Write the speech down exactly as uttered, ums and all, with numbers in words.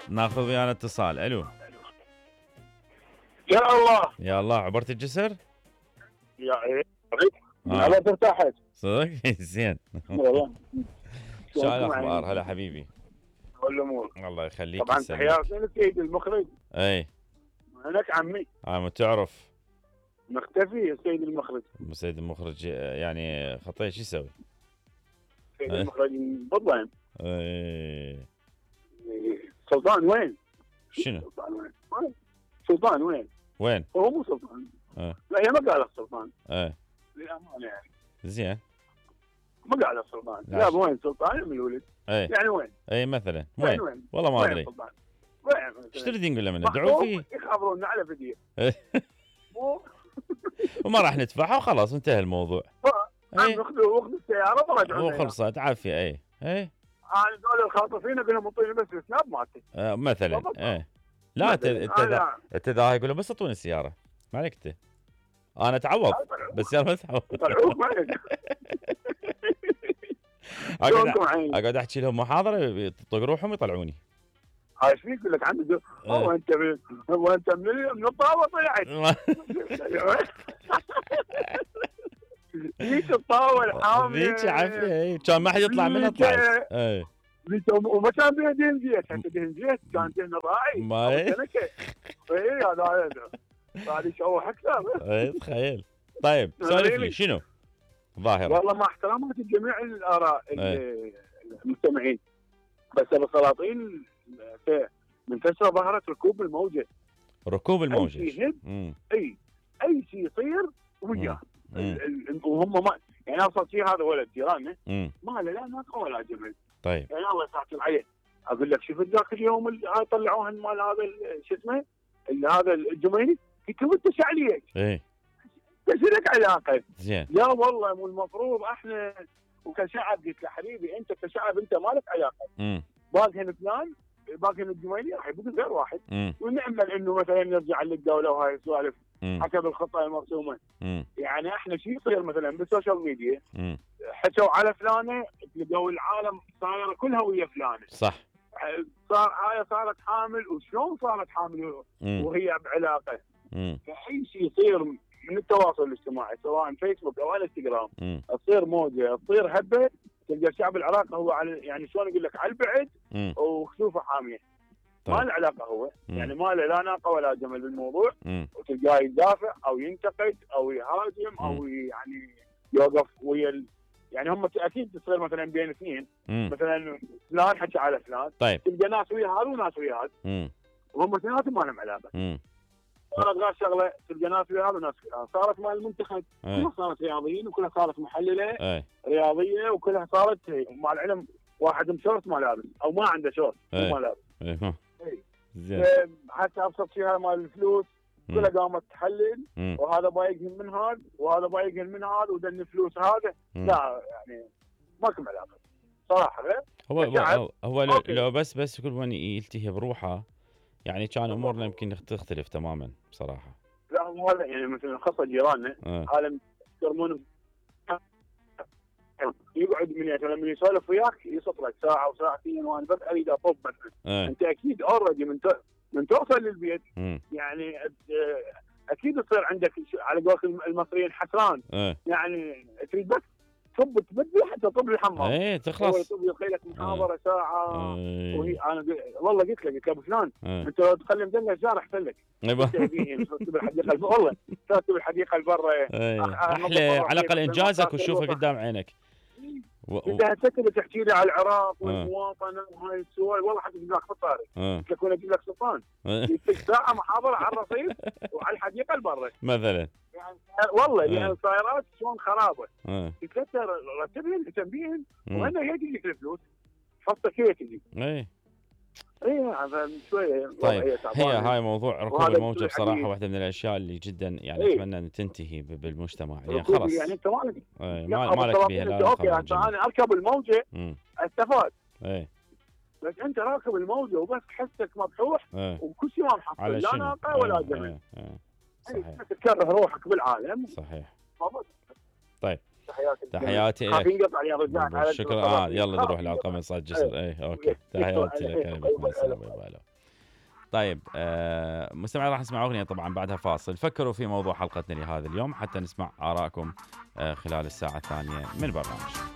ناخذ ويانا اتصال. الو يا الله يا الله، عبرت الجسر؟ يا ايه آه. عبرت ارتاحت صدق؟ زين. والله. شو الاخبار؟ هلا حبيبي. والامور الله يخليك. طبعا تحياتي للسيد المخرج. اي هناك عمي. عم تعرف مختفي السيد المخرج. السيد المخرج يعني خطيه شو يسوي؟ السيد المخرج بالضبط. اي سلطان وين؟ شنو؟ سلطان وين؟ سلطان وين؟ وين؟ هو مو سلطان. اه لا هي ما قالت سلطان. ايه للامانه يعني. زين. ما قالت سلطان. لا وين سلطان من الولد؟ ايه يعني وين؟ اي مثلا وين؟ يعني وين؟ والله ما ادري. وين؟ ايش تريدين نقول له منه؟ ادعوا فيه. يخابرونا على فيديو. مو وما راح ندفعها وخلاص انتهى الموضوع. اي اخذوا اخذوا السياره ورجعوا. وخلصت عافيه. اي اي انا دول الخاطفين اقول لهم اعطوني بس السناب مالتي. آه مثلا. ايه لا انت انت ذا يقول بس اعطوني السياره ما عليك انت. انا اتعوض بس يلا ما اتعوض. طلعوك ما عليك. اقعد احكي لهم محاضره يطق روحهم يطلعوني. هاي ايش فيك؟ يقول لك عندي هو انت هو انت من الطاوه طلعت. ذيك الطاوه الحامله ذيك عافيه. اي كان ما حد يطلع منها طلعت. اي وما كان بيها دهن زيت. حتى دهن زيت كان دهن راعي. ما اي هذا هذا يشوح اكثر. اي تخيل. طيب سولف لي شنو ظاهره؟ والله مع احترامات لجميع الاراء المستمعين بس السلاطين منتشره ظهرت ركوب الموجه. ركوب الموجه اي شيء اي اي شيء يصير وياه. وهم ما يعني ابسط شيء هذا ولد جيراننا ما له لا ناقه ولا جمل. طيب يعني الله يسعدك عليه. اقول لك شوف ذاك اليوم طلعوها مال هذا شو اسمه هذا الجميلي قلت له انت شعليك. ايه بس لك علاقه. زين. لا والله مو المفروض احنا وكشعب قلت له حبيبي انت كشعب انت ما لك علاقه. امم باقي فلان باقي الجميلي راح يبقى غير واحد. مم. ونامل انه مثلا نرجع للدوله وهاي السوالف مم. حسب الخطه المرسومه. مم. يعني احنا شو يصير مثلا بالسوشيال ميديا مم. حكوا على فلانه تلقوا العالم صايره كلها ويا فلانه. صح. صار هاي صارت حامل وشلون صارت حامل وهي بعلاقه. مم. فاي شيء يصير من التواصل الاجتماعي سواء فيسبوك او انستغرام تصير موجه تصير هبه تلقى الشعب العراقي هو على يعني شلون اقول لك على البعد وخسوفه حاميه. طيب. ما له علاقه هو مم. يعني ما له لا ناقه ولا جمل بالموضوع. مم. وتلقاه يدافع او ينتقد او يهاجم مم. او يعني يوقف ويا ال... يعني هم اكيد تصير مثلا بين اثنين مم. مثلا فلان حكى على فلان. طيب. تلقى ناس ويا هذا وناس ويا هذا وهم اثنيناتهم ما لهم علاقه. صارت غير شغله تلقى ناس ويا هذا وناس ويا هذا. صارت مال المنتخب كلها صارت رياضيين وكلها صارت محلله أي. رياضيه وكلها صارت مع العلم واحد مشورت ما لابس او ما عنده شورت ما لابس. اي زين. حتى ابسط شيء هذا مال الفلوس كلها قامت تحلل مم. وهذا بايقهم من هذا وهذا بايقهم من هذا ودن فلوس هذا. مم. لا يعني ماكو علاقه صراحه غير هو هو, هو لو, لو بس بس كل من يلتهي بروحه يعني كان امورنا يمكن تختلف تماما بصراحه. لا هو هذا يعني مثلا خاصه جيراننا عالم يرمون يقعد من مثلا من يسولف وياك يصط لك ساعه وساعتين وانا بس اريد اطب مثلا. انت اكيد اوريدي من من توصل للبيت م. يعني اكيد يصير عندك على قولك المصريين حسران. اه. يعني تريد بس تطب تبدي حتى تطب الحمام. ايه تخلص. هو يطب لك محاضره اه. ساعه. اه. وهي انا والله قلت لك قلت ابو فلان اه. انت لو تخلي مدلع الشارع احسن لك. تكتب الحديقه والله تكتب الحديقه لبرا. احلى على الاقل انجازك وتشوفه قدام عينك. اذا تكتب تحكي لي على العراق والمواطنه وهاي السوالف والله حتى اجيب لك فطاري. تكون اجيب لك سلطان يديك ساعه محاضره على الرصيف وعلى الحديقه البرة مثلا. يعني والله يعني السيارات شلون خرابه. تكثر رتبهن تنبيهن وهنا هي تجيك الفلوس حطك هي تجي. اي اي هذا شويه. طيب هي هاي موضوع ركوب الموجه بصراحه واحده من الاشياء اللي جدا يعني ايه؟ اتمنى ان تنتهي بالمجتمع يعني خلاص يعني انت مالك ايه ما مالك بيها لا اوكي انا اركب الموجه استفاد. اي بس انت راكب الموجه وبس حسك مبحوح ايه؟ وكل شيء ما محصل لا ناقه ولا جمل. ايه ايه صحيح. تكره روحك بالعالم. صحيح. طيب تحياتي تحياتي لك. شكرا. اه يلا نروح للقمه صاد جسر. اي اوكي تحياتي لك. طيب آه مستمعين راح نسمع اغنيه طبعا بعدها فاصل. فكروا في موضوع حلقتنا لهذا اليوم حتى نسمع ارائكم آه خلال الساعه الثانيه من البرنامج.